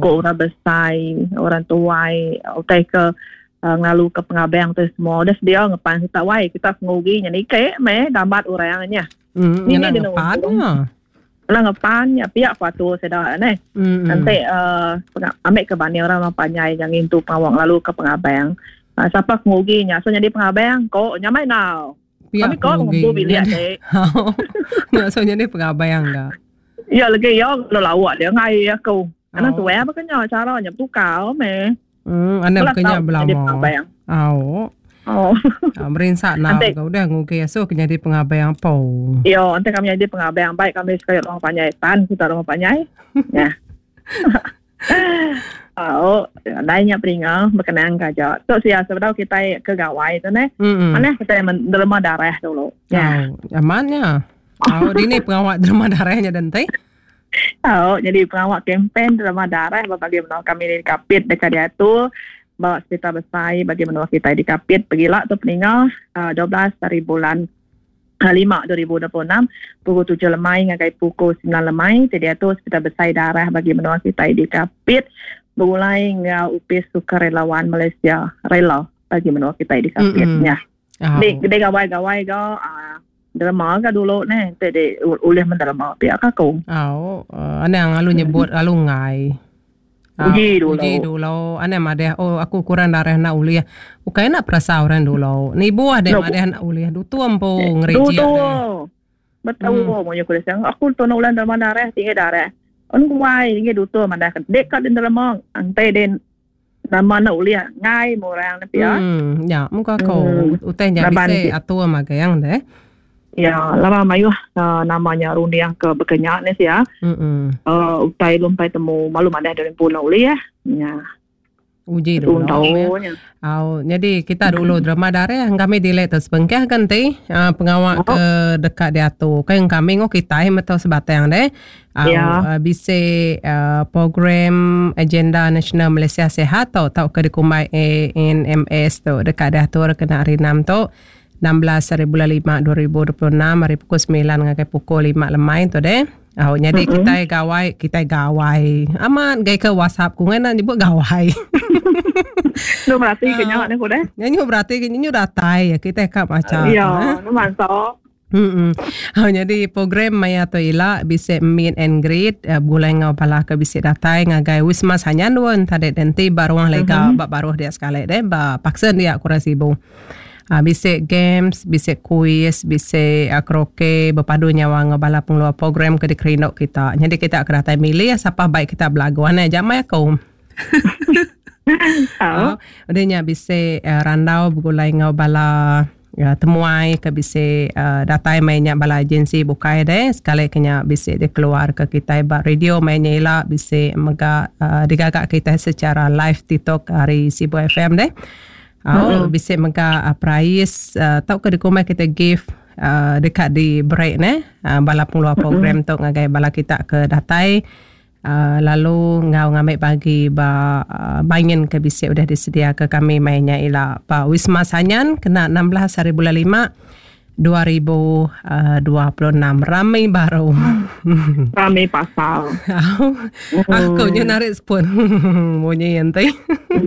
Ko orang besai, orang tuai, utai ke ngelalu ke pengabang tu semua udah sedia ngepan kita wai kita pengugi nya nike meh gambat orang nya. Hmm, ngena ngepan nya. Ngena ngepan nya pia ku atur sida neh. Hmm. Nanti uh, ambil ke banding orang orang panjai yang ngintu pengawa ngelalu ke pengabang. Uh, siapa pengugi nya so jadi pengabang ko nya mai nau. Pia Kami ko pengugi. ngumpul bilik dek. Nya so jadi pengabang ga. Ya lagi ya lo lawak dia ngai aku. Anak oh. tuai apa kena cara nya tukar meh. Hmm, anak kena belama. Au. Oh. Ah, merinsa nak Nanti- kau udah ngugi asuh ke jadi pengabang po. Ya, nanti kami jadi pengabang baik kami sekali rumah panjai tan kita rumah panjai. Ya. Oh, dai nya peringa berkenang ke aja. Tu sia sebedau kita ke gawai tu neh. Hmm. Mana kita menerima darah dulu. Ya. Oh, amannya. Oh, dini pengawak derma darahnya dan teh. Tau, jadi pengawa kempen derma darah ba bagi menua kami di Kapit deka diatur ba Hospital Besai bagi menua kitai di Kapit pegila tu peninga 12 hari bulan 5 2026 pukul 7 lemai ngagai pukul 9 lemai ti diatur Hospital Besai Darah bagi menua kitai di Kapit begulai enggau Opis Sukarelawan Malaysia Rela bagi menua kitai di Kapit nya. Oh. Di di gawai-gawai ga uh, derma ga dulu neh enti di ulih menderma pia ka aku. Au, uh, anang lalu nyebut lalu ngai. Uji dulu. Uji dulu. Anang madah oh aku kurang darah nak ulih. Ukai nak perasa orang dulu. Nibuh deh madah nak ulih. Dutu empu ngereja. Dutu. Betul hmm. Munyi ku desang. Aku tu nak ulang derma darah tinggi darah. On kuai tinggi dutu madah. Dek ka den derma ante den Nama enda ulih ngai meh orang ne pia. Hmm, nya muka ko hmm. utai nya bisi atur magang deh. Ya, lama mayuh uh, nama nya runding ke bekenya ne sia. Hmm. Uh, utai lumpai temu malu madah dari pulau ulih ya. Ya. Uji dulu. Ya. Au, jadi kita dulu drama darah kami delay tu sebengkah kan ti uh, pengawa oh. ke dekat diatu. Kan kami ngok kita meto sebatang deh. Au Ya. bisi program Agenda Nasional Malaysia Sihat tu tauka dikumbai ANMS tu deka diatur kena hari enam tu 16 hari bulan 5 2026 ari pukul 9 ngagai pukul 5 lemai tu deh. Au nyadi mm-hmm. kitai gawai, kitai gawai. Amat gai ke WhatsApp ku ngai nak nyebut gawai. Nu berarti ke nya ne ku deh. Nyu berarti ke nyu datai kitai ka macha. Ya, nu mansa. Hmm. Oh, jadi program maya tu ila bisi meet and greet uh, begulai enggau bala ke bisi datai ngagai Wisma Sanyan dun tadi nanti ba ruang lega mm-hmm. ba baruh dia sekali deh ba paksen dia kurang sibu. Uh, bisi games, bisi kuis, bisi uh, karaoke berpadu nyawa enggau bala pengeluar program ke dikerindu kita. Jadi kita ke datai milih siapa baik kita belagu anai jamai aku. Oh. Udah nya bisi uh, randau begulai enggau bala temuai ke bisi datai maya nya bala agensi bukai deh sekali ke nya bisi dikeluar ke kitai ba radio maya nya ila bisi mega digaga kitai secara live TikTok ari Sibu FM deh. Au bisi mega perais tauka dikumbai kitai gift deka diberi neh bala pengeluar program tu ngagai bala kita ke datai. Lalu enggau ngambi bagi ba main ke bisi udah disediaka kami maya nya ila ba Wisma Sanyan kena 16 hari bulan 5 2026. Rami baru. Rami pasal. Aku nya narik sepun munyi enti.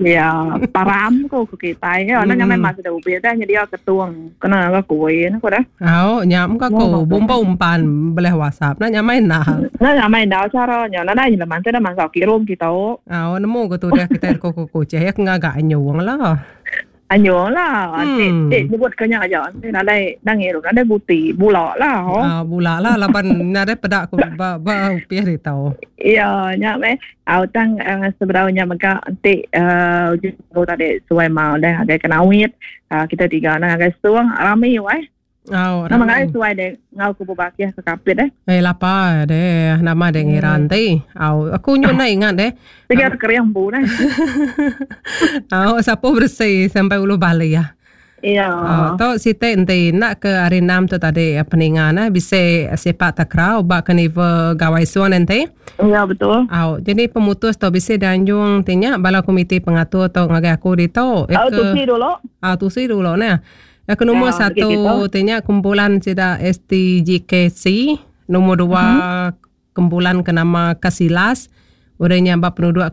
Ya, param ko ku kitai. Ya, nang nyamai mas dah ubi dah nyedia ketung kena ga kuih ne ko dah. Au nya muka ku bumba umpan beleh WhatsApp nah nyamai enda. Nah nyamai enda cara nya nadai leman tu dah mansa kirum kita. Au nemu ke tudah kita ko ko kucih ya ngaga anyung lah. Anyung lah. Hmm. Tik nyebut ke nya aja. Nadai nangir nadai buti bula lah. Oh. Ah bula lah laban nadai peda ku ba ba upih ditu. Ya nya meh. Au tang uh, seberau nya mega enti uh, uh, tadi suai mau dah agai kenawit uh, kita tiga na agai suang rami wai. Au, Nama ngai suai deh ngau ku bebakih ke kapit deh. Eh lapa deh nama deh ngira enti. Au aku nyu nai ingat deh. Tiga keriang bu neh. Au sapu bersih sampai ulu bali ya. Iya. Oh, tu siti enti enda ke hari enam tu tadi peninga neh bisi sepak takraw ba karnival Gawai Suan enti. Ya betul. Au jadi pemutus tu bisi dianjung ti nya bala komiti pengatur tu ngagai aku ditu. Au tusi dulu. Au tusi dulu neh. Ya ke nombor Ya, satu gitu. ti nya kumpulan sida STGKC, nombor dua kumpulan ke nama Kasilas, udah nya ba penuduk ke.